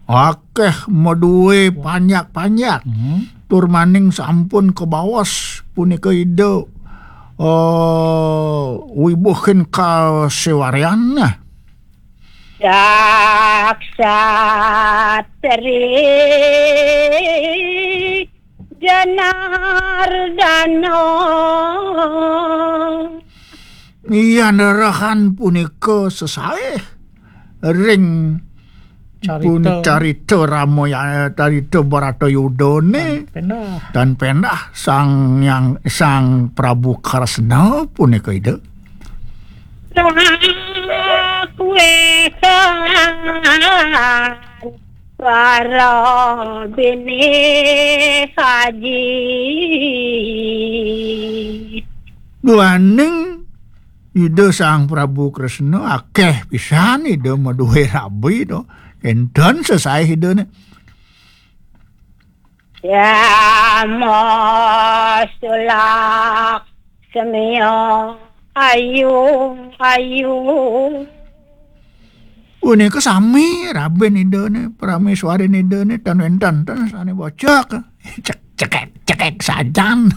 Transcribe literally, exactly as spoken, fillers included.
Akeh madué panjak-panjak. Hmm. Tur maning sampun kabaos punika Ida, eh, wibuhin kaséwaryan. Daksatri Janardana. Iya, nerehan punika sesaih ring Carita. Pun carita Ramaya-, carita Baratayudane. Tan pendah. Tan pendah Sang Hyang, Sang Prabu Kresna punika Ida. Kuwe kan para bini haji. Duaning Ida Sang Prabu Kresna akeh pisan Ida maduwe rabi to. Enten sesaih Idane. Ya masulak semia ayu ayu. Punika sami rabin Idane, prameswarin Idane, tan wenten ten sane bocok. Cek-, cekek, cekek sajan.